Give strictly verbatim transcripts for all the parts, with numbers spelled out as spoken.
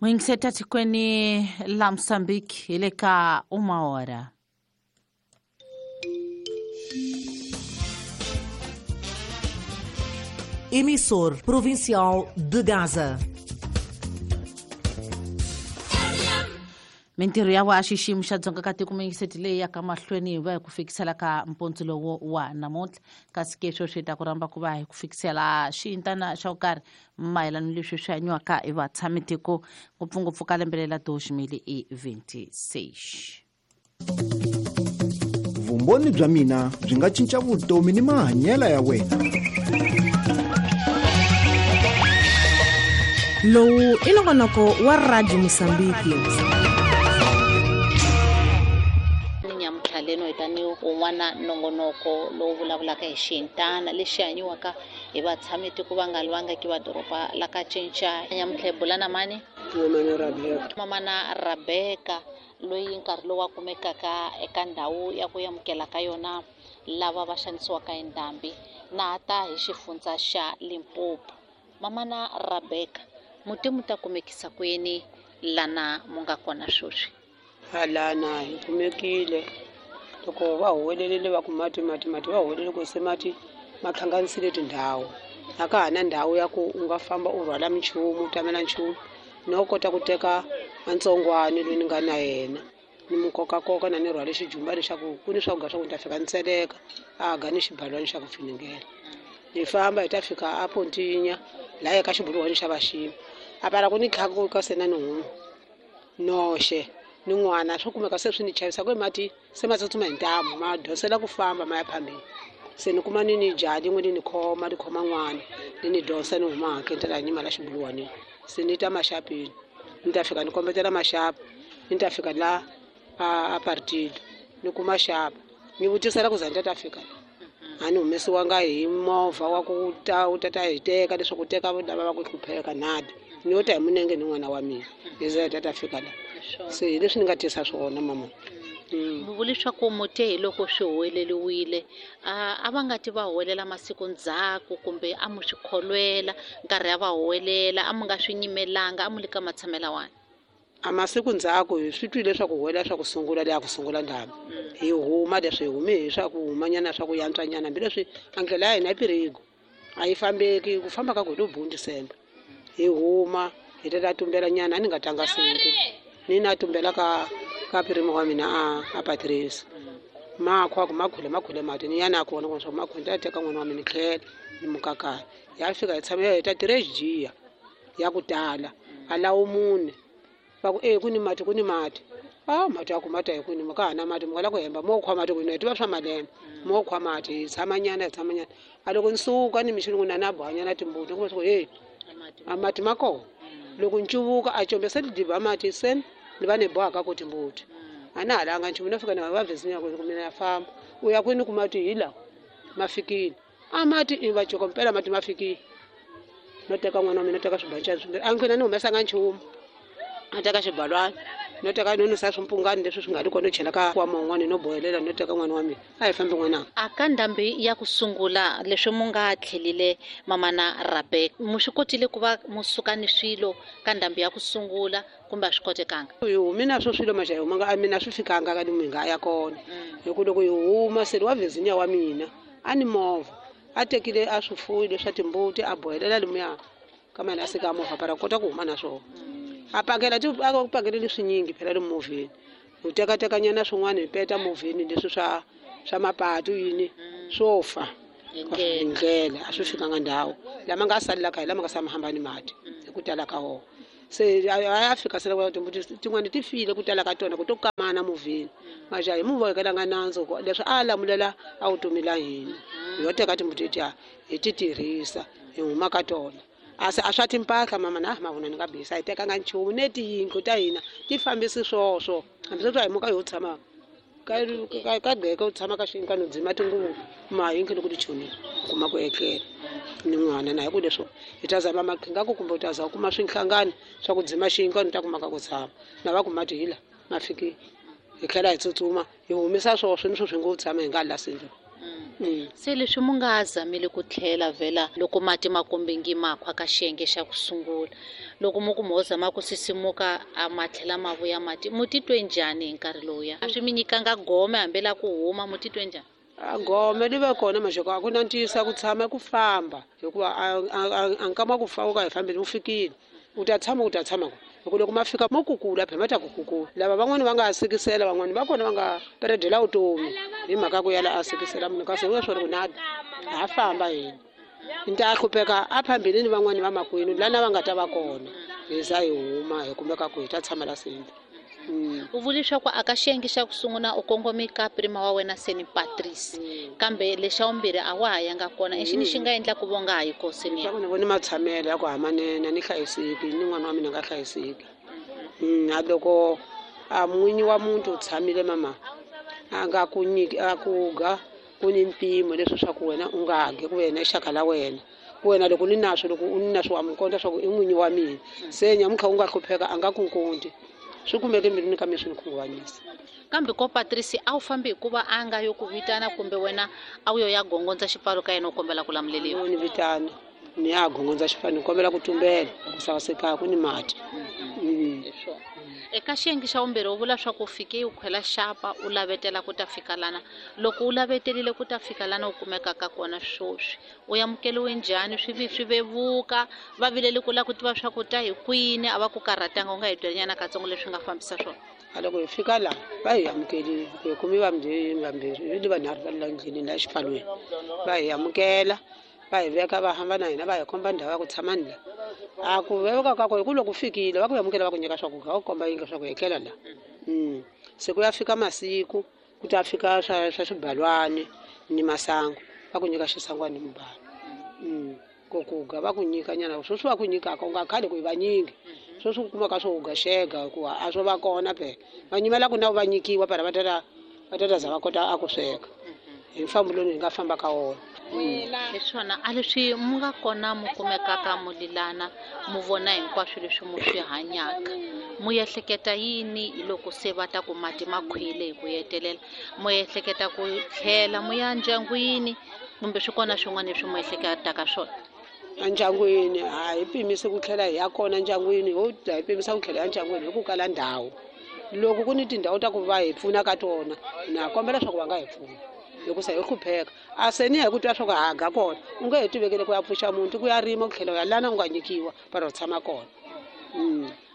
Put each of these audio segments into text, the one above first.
Mwingiseta tikweni la Mozambique hi le ka uma hora. Emissor Provincial de Gaza. Mintirho ya wa xiximo xa Dzonga ka tiko mingiseti leyi ya ka mahlweni va hi ku fikisela ka mpontso lowo wa namuntlha kasi ke sweswi hi ta ku rhamba ku va hi ku fikisela xiyintana xa ku karhi mayelana leswi swi hanyiwaka hi vatshami tiko ngopfungopfu ka lembe lela dois mil e vinte e seis. Vumbhoni bya mina byi nga cinca vutomi ni mahanyelo ya wena. Lowu i nongonoko wa Radio Mozambique. Leno hi tani un'wana nongonoko lowu vulavulaka hi xintana lexi hanyiwaka hi vatshami tiko va nga lwangaki va doroba la ka cinca nyamuntlha hi bula na mani mamana Rebecca loyi nkarhi lowu a kumekaka eka ndhawu ya ku amukela ka yona lava va xanisiwaka hi ndhambi na ta hi xifundza xa Limpopo. Mamana Rebecca muti mu ta kumekisa kwini lana mu nga kona sweswi? Halana hi kumekile loko va huwelelile va ku mati mati mati va huwelele ku se mati ma hlanganisile tindhawu a ka ha na ndhawu ya ku u nga famba u rhwala minchumu u tamela nchumu no kota ku teka antsongwani loyi ni nga na yena ni mu kokakoka na ni rhwale xijumba leswaku ku ni swakudya swa ku ni ta fika ni tseleka a ga ni xibalwani xa ku finingela hi famba hi ta fika a Pontinya laha eka xibuluwani xa vaxima a para ku ni tlhakuka se na ni huma noxe ni n'wana swo kumeka se swi ni chavisa ku mati se ma tsutsuma hi ntamu ma dosela ku famba ma ya phambeni se ni kuma ni ni jaha lin'we ni ni khoma ni khoma n'wana ni ni dosa ni huma hakeni ta laha nyima la xibuluwanini se ni ta maxapini ni ta fika ni kombetela maxapa ni ta fika la a partile ni kuma xapa ni vutisela ku za ni ta ta fika la a ni humesiwanga hi movha wa ku ta wu ta ta hi teka leswaku teka lava va ku hlupheka nada ni yo ta hi munenge ni n'wana wa mina ni za hi ta ta fika la se hi leswi ni nga tisa swona mama. Mi vule leswaku mute hi loko swi huweleliwile a va nga ti va huwelela masiku ndzhaku kumbe a mu swi kholwela nkarhi ya va huwelela a mu nga swi nyimelanga a mu le ka matshamela wani? A masiku ndzhaku hi swi twile leswaku huwelela swa ku sungula leya ku sungula ndhambi hi huma leswi hi hume hi swa ku humanyana swa ku yantswanyana hambileswi a ndlela ya hina yi pirigo a yi fambeki ku famba ka ku hi lo December hi huma hi ta ta tumbela nyana a ni nga tanga siku ni na tumbela ka ka pirimo wa mina a a Patrice makhwa ku makhule makhule mati ni yana kona ku swa makhule ta teka n'wana wa mina tlhela ni mukakaya ya fika hi tshama hi ta tirhe ya ku tala a lawo mune va ku e ku ni mati ku ni mati a mati ya ku mati hi ku ni ka hana mati mi nga la ku hemba mo khwa mati ku ni tiva swa malembe mo khwa mati hi tshama nyana hi tshama nyana a loko ni suka ni mixini ku na na bohanyana timbuti ku swa hey a mati ma kona loko ncuvuka a combe se lidiba mati sen ni va ni bohaka ku timbuti a na halanga nchumu no fika na va vhesinya ku mina ya famba u ya kwini ku mati hi lawa ma fikile a mati i va joko mpela mati ma fikile no teka n'wana wa mina teka swibancana swimbirhi a nkwina ni humesanga nchumu a teka xibalwana no teka no nusa swimpungani leswi swi nga ri kona no chela ka nkwama wun'wana no bohelela no teka n'wana wa mina a hi fambi n'wananga. A ka ndhambi ya ku sungula leswi mu nga tlhelile mamana Rebecca mu swi kotile ku va mu suka ni swilo ka ndhambi ya ku sungula kumbe a swi kotekanga? Hi humi na swo swilo maxa hi humanga a mina swi fikanga ka ni nga ya kona hi ku loko hi huma se wa vhezinya wa mina a ni movha a tekile a swifuyi leswa timbuti a bohelela limuya ka mana a sika movha para kota ku huma na swona a pakela ti a ku pakeleli swinyingi phela le movheni u tekatekanyana swin'wana hi peta movheni leswi swa swa mapatu yini swo fa hi ndlela a swi fikanga ndhawu lama nga salelaka hi lama nga sama hambani mati hi ku tala ka wona se a ya fika se loko timbuti tin'wana ti file ku tala ka tona ku to kamana movheni maja hi mu vohekelanga nandzu leswi a lamulela a vutomi la hina hi yo teka timbuti tiya hi ti tirhisa hi huma ka tona a se a swa timpahla mama na mavona ni nga bisa hi tekanga nchumu ne tiyindlu ta hina ti fambisi swoswo hambi sweswi a hi muka yo tshama ka ka ka gqeka u tshama ka xinkano dzima tinguvu ma hinkhe loko ti chonile kuma ku etlela ni n'wana na hi ku leswo hi ta zama maqhinga ku kumbe u ta za u kuma swinhlangano swa ku dzima xinkano ta kumaka ku tshama na va ku mati hi la ma fikile hi tlhela hi tsutsuma hi humesa swoswo ni swo swi ngo tshama hi nga la sindlo. Mm. Se leswi mu nga zamile ku tlhela vhela loko mati ma kombengi makhwa ka xiyenge xa ku sungula loko mu ku mo zama ku sisimuka a ma tlhela ma vuya mati mu titwe njhani hi nkarhi lowuya a swi mi nyikanga gome hambi la ku huma mu titwe njhani a gome li va kona maxoko a ku na ntiyiso ku tshama ku famba hikuva a nkama ku fa u ka hi fambeni wu fikile u ta tshama u ta tshama ku loko ma fika mo kukula phela ma ta ku kukula lava van'wani va nga sikisela van'wani va kona va nga peredela vutomi hi mhaka ku yala a sikisela munhu kasi u swona ku na ha famba hina ni ta hlupheka a phambili ni van'wani va makwenu lana va nga ta va kona hi za hi huma hi kumeka ku hi ta tshama la senda. U vule leswaku a ka xiyenge xa ku sungula u kongome ka prima wa wena seni Patrice kambe lexa vumbirhi a wa ha yanga kona i xini xi nga endla ku vonga ha yi koseni ya ni vone matshamelo ya ku hamanene ni hlayiseki ni n'wana wa mina nga hlayiseki a loko a n'winyi wa muntu u tshamile mama a nga ku nyiki a ku ga ku ni mpimo leswi swa ku wena u nga ge ku wena xaka la wena ku wena loko ni naswo loko u ni naswo wa mi konta swa ku i n'winyi wa mina se nyamuntlha u nga hlupheka a nga ku nkonti swi kumeke mbilwini ka mina swi ni khunguvanyisa. Kambe ko Patrice a wu fambi hikuva a nga yo ku vitana kumbe wena a wu yo ya gongondza xipfalo ka yena u kombela ku lamuleliwa? Ni vitana ni ya gongondza xipfalo ni kombela ku tumbela ku saseka ku ni mati. Eka xiyenge xa vumbirhi u vula swa ku fike u khwela xapa u lavetela ku ta fika lana loko u lavetelile ku ta fika lana u kumekaka kona swoswi u amukeliwe njhani swi swi vevuka va vilele ku lava ku tiva swa ku ta hi kwini a va ku karhatanga u nga hi byelinyana katsongo leswi nga fambisa swona? A loko hi fika laha va hi amukelile ku hi kumi vambirhi vambirhi ni vanharhu va la ndleleni la xipfalweni va hi amukela va hi veka va hamba na hina va hi komba ndhawu ya ku tshama ni la a ku veka ka ku hi ku loko fikile va ku amukela va ku nyika swakudya va ku komba yindlu swa ku etlela la se ku ya fika masiku ku ta fika swa swa swibalwani ni masangu va ku nyika xisangwani ni mubalo ku kuga va ku nyika nyana sweswi va ku nyikaka u nga khale ku hi vanyingi sweswi u kumaka swo uga xega hikuva a swo va kona phela va nyimela ku na va nyikiwa para va tata va tata za va kota a ku sweka hi mfambo lowu hi nga famba ka wona. Hi swona a leswi mu nga kona mu kumekaka mu lilana mu vona hinkwaswo leswi mu swi hanyaka mu ehleketa yini hi loko se va ta ku mati ma khwile hi ku hetelela mu ehleketa ku tlhela mu ya ndyangwini kumbe swi kona swin'wana leswi mu ehleketaka swona? Endyangwini a hi pimise ku tlhela hi ya kona ndyangwini ho hi pimisa ku tlhela ya ndyangwini hi ku kala ndhawu loko ku ni tindhawu ta ku va hi pfuna ka tona na kombela leswaku va nga hi pfuna loko se hi hlupheka a se ni hi ku twa swa ku haga kona u nge he tivekele ku ya pfuxa muntu ku ya rima ku tlhela u ya lana u nga nyikiwa para u tshama kona.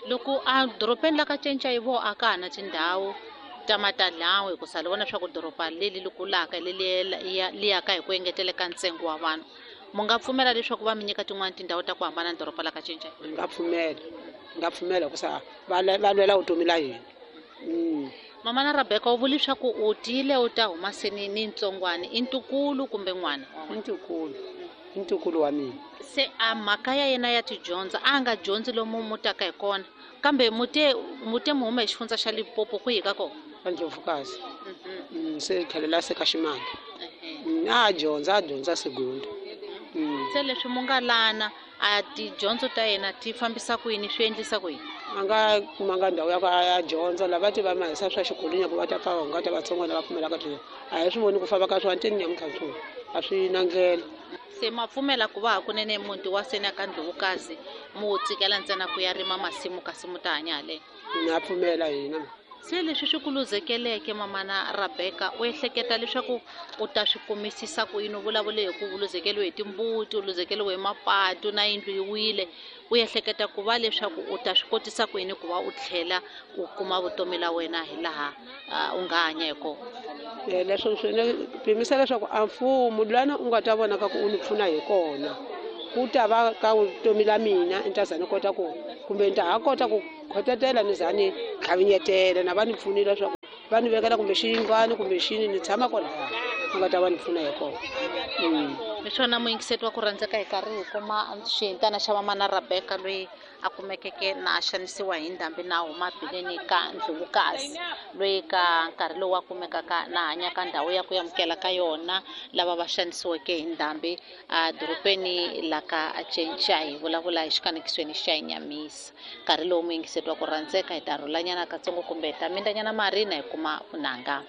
Loko a dorobeni la ka cinca hi vo a ka ha na tindhawu ta matadlawu hi ku sala vona swa ku doroba leli li kulaka leli li yaka hi ku engeteleka ntsengo wa vanhu mu nga pfumela leswaku va mi nyika tin'wani tindhawu ta ku hambana na doroba la ka cinca? Ni nga pfumela ni nga pfumela ku sa va va lwela vutomi la hina. Mama na Rebecca u vule leswaku u tile u ta huma seni ni ntsongwana i ntukulu kumbe n'wana? I ntukulu i ntukulu wa mina. Se a mhaka ya yena ya tidyondzo a nga dyondzi lomu mu taka hi kona kambe mute mute mu huma hi xifundza xa Limpopo kwihi ka kona? Ka Ndlovukazi se tlhelela se ka Ximanga a dyondza a dyondza segunda. Se leswi mu nga lana a tidyondzo ta yena ti fambisa ku yini swi endlisa ku yini? A nga kumanga ndhawu ya ku a ya dyondza lava ti va ma hisa swa xikolweni ku va ta pfa va ta vatsongo lava pfumelaka ti a hi swi voni ku famba ka swona teni nyamuntlha swona a swi na ndlela. Se ma pfumela ku va hakunene muti wa seni ka Ndlovukazi mu wu tsikela ntsena ku ya rima masimu kasi mu ta hanya haleni? Na pfumela hina. Se leswi swi ku luzekeleke mamana Rebecca u ehleketa leswaku u ta swi kumisisa ku yini? U vulavule hi ku luzekeliwe hi timbuti u luzekeliwe hi mapatu na yindlu yi wile u ehleketa ku va leswaku u ta swi kotisa ku yini ku va u tlhela u kuma vutomi la wena hi laha u nga hanya hi kona? Leswo swi pimisa leswaku a mfumo lwana u nga ta vona ka ku u ni pfuna hi kona ku ta va ka vutomi la mina ni ta za ni kota ku kumbe ni ta ha kota ku khotetela ni za ni tlhavinyetela na va ni pfunile leswaku va ni vekela kumbe xiyindlwani kumbe xini ni tshama kona u nga ta va ni pfuna hi kona. Hi swona muyingiseti wa ku rhandzeka hi karhi hi kuma xihintana xa mamana Rebecca loyi a kumekeke na a xanisiwa hi ndhambi na huma bileni ka Ndlovukazi loyi ka nkarhi lowu a kumekaka na hanya ka ndhawu ya ku amukela ka yona lava va xanisiweke hi ndhambi a dorobeni la ka cinca hi vulavula hi xikanekisweni xa Nyamisa. Nkarhi lowu muyingiseti wa ku rhandzeka hi ta rhulanyana katsongo kumbe hi ta mindanyana mari na hi kuma vunanga.